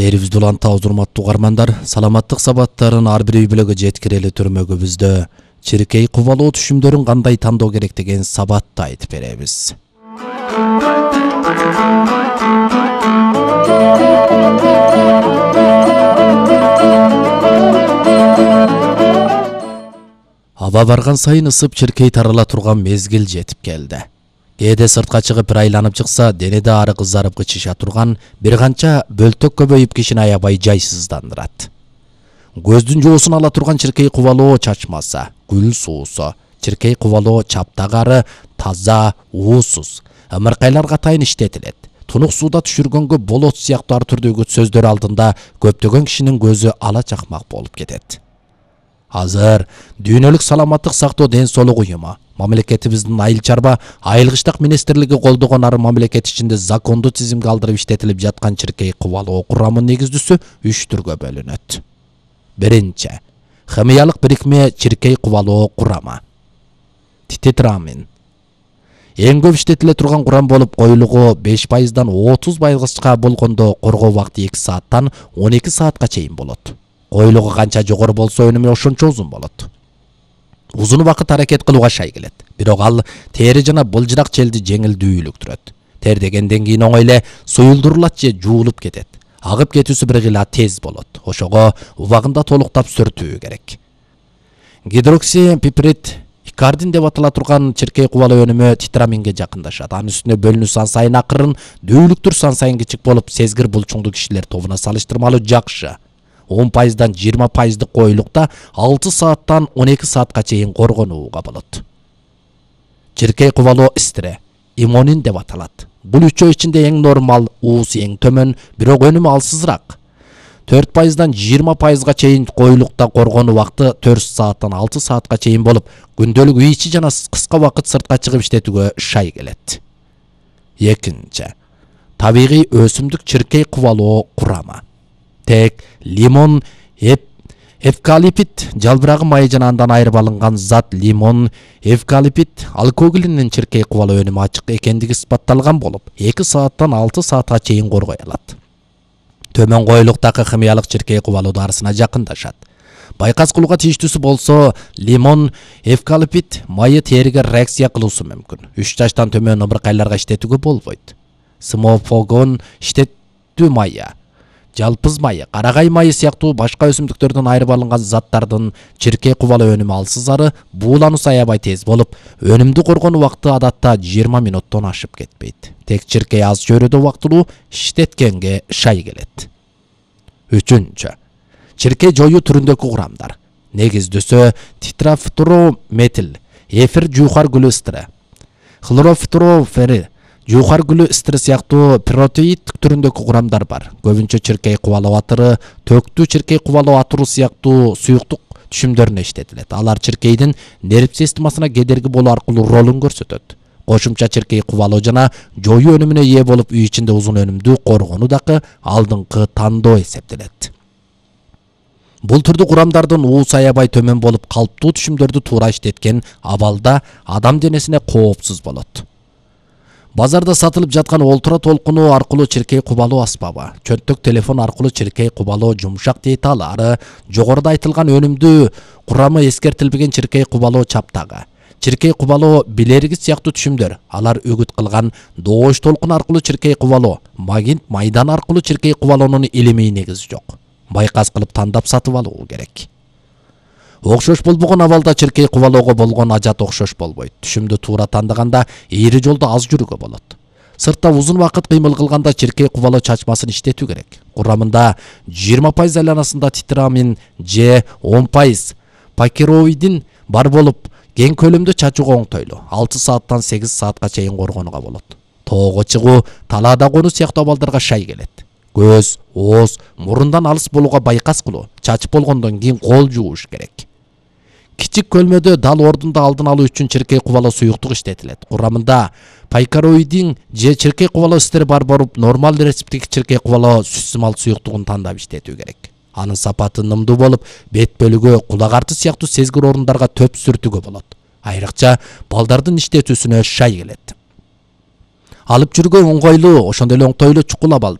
Берибизди улантабыз, урматтуу угармандар. Саламаттык сабаттарын ар бир үй бүлөгө жеткирели түрмөгүбүздө чиркей кубалоо түшүмдөрүн кандай тандоо керек деген сабатты айтып беребиз. Аба барган сайын ысып чиркей тарала турган мезгил жетип келди. Кээде сыртка чыгып бир айланып чыкса, денеде ары кызарып кычыша турган бир канча бөлтөк көбөйүп кишини аябай жайсыздандырат. Көздүн жоосун ала турган чиркей кубалоо чачмаса, гүл суусу, чиркей кубалоо чаптагары таза, уусуз, ымыркайларга атайын иштетилет. Тунук сууда түшүргөнгө болот сыяктуу ар түрдөгү сөздөр алдында көптөгөн кишинин көзү ала чакмак болуп кетет. Азыр дүйнөлүк саламаттык сактоо ден соолук уюму, мамлекетибиздин айыл чарба айылгычтык министрлиги колдогон ары мамлекет ичинде закондуу тизимге алдырып иштетилип жаткан чиркей кубалоо курамынын негиздүүсү 3 түргө бөлүнөт. Биринчи, химиялык бирикме чиркей кубалоо курамы. Титетрамин. Эң көп иштетиле турган курам болуп, коюлугу 5%дан 30%га болгондо коргоо убакыты 2 сааттан 12 саатка чейин болот. Коюлугу канча жогору болсо өнүмү ошончо узун болот. Узун убакыт аракет кылууга шай келет. Бирок ал тери жана былжырак челди жеңилдүүлүктүрөт. Тер дегенден кийин оңой эле суюлдурулат же жуулуп кетет. Агып кетүүсү бир гыла тез болот. Ошого убагында толуктап сүртүү керек. Гидроксипиприд икардин деп атала турган чиркей кубалоо өнүмү титраминге жакындашат. Анын үстүнө бөлүнүү сан сайын акырын, дүүлүктүр сан сайын кичик болуп, сезгир булчуңдуу кишилер тобуна салыштырмалуу жакшы. 10%дан 20% коюлукта 6 сааттан 12 саатка чейин коргонууга болот. Чиркей кубалоо истире, имонин деп аталат. Бул үчөө ичинде эң нормал, уусу эң төмөн, бирок өнүмү алсызыраак. 4%дан 20%га чейин коюлукта коргонуу убакыты 4 сааттан 6 саатка чейин болуп, күндөлүк үй ичи жана кыска убакыт сыртка чыгып иштетүүгө шай келет. Экинчи, табигый өсүмдүк чиркей кубалоо курамы. Тек лимон, эвкалипт, жалбырагы майы жана андан айырып алынган зат лимон, эвкалипт, алкоголинин чиркей кубалоо өнүмү ачык экендиги испатталган болуп, 2 сааттан 6 саатка чейин коргой алат. Төмөн коюлуктагы химиялык чиркей кубалоо дарысына жакындашат. Байкас кылууга тийиштүүсү болсо, лимон, эвкалипт майы териге реакция кылуусу мүмкүн. 3 жаштан төмөн ымыркайларга иштетүүгө болбойт. Смофогон иштетүү майы, жалпыз майы, карагай майы сыяктуу башка өсүмдүктөрдөн айырып алынган заттардын чиркей кубалоо өнүмү алсызары, буулануусу аябай тез болуп, өнүмдү коргонуу убакыты адатта 20 минуттон ашып кетпейт. Тек чиркей аз чөйрөдө убактылуу иштеткенге шай келет. Үчүнчү, чиркей жоюу түрүндөгү курамдар. Негиздүүсү титрафторометил, эфир жуухар гүлү ыстыры, хлорофторофери, жуухар гүлү ыстыры сыяктуу протеид түрүндөгү курамдар бар. Көбүнчө чиркей кубалоо атыры, төктүү чиркей кубалоо атыру сыяктуу суюктук түшүмдөрүнө иштетилет. Алар чиркейдин нерв системасына кедерги болуу аркылуу ролун көрсөтөт. Кошумча чиркей кубалоо жана жоюу өнүмүнө ээ болуп, үй ичинде узун өнүмдүү коргонуу дагы алдыңкы тандоо эсептелет. Бул түрдүү курамдардын уусу аябай төмөн болуп, калптуу түшүмдөрдү туура иштеткен абалда адам денесине коопсуз болот. Базарда сатылып жаткан олтура толкуну аркылуу чиркей кубалоо аспабы, чөнтөк телефон аркылуу чиркей кубалоо жумшак деталы, ары жогоруда айтылган өнүмдүү курамы эскертилбеген чиркей кубалоо чаптагы, чиркей кубалоо билерги сыяктуу түшүмдөр, алар үгүт кылган доош толкун аркылуу чиркей кубалоо, магнит майдан аркылуу чиркей кубалоонун илимий негизи жок. Байкас кылып тандап сатып алуу керек. Окшош болбогон абалда чиркей кубалоого болгон ажат окшош болбойт. Түшүмдү туура тандаганда ийри жолдо аз жүрүүгө болот. Сыртта узун убакыт кыймыл кылганда чиркей кубалоо чачмасын иштетүү керек. Курамында 20% айланасында титрамин же 10% пакероидин бар болуп, кең көлөмдө чачууга оңтойлуу. 6 сааттан 8 саатка чейин коргонууга болот. Тоого чыгуу, талаада конуу сыяктуу абалдарга шай келет. Көз, ооз, мурундан алыс болууга байкас кылуу, чачып болгондон кийин кол жууш керек. Кичик көлмөдө дал ордунда алдын алуу үчүн чиркей кубалоо суюктук иштетилет. Курамында пайкароидин же чиркей кубалоо истери бар болуп, нормал рецептик чиркей кубалоо сүт-сымал суюктугун тандап иштетүү керек. Анын сапаты нымдуу болуп, бет бөлүгү, кулак арты сыяктуу сезгир орундарга төп сүртүүгө болот. Айрыкча балдардын иштетүүсүнө шай келет. Алып жүргөн оңгойлуу, ошондой эле оңтойлуу чукул абал.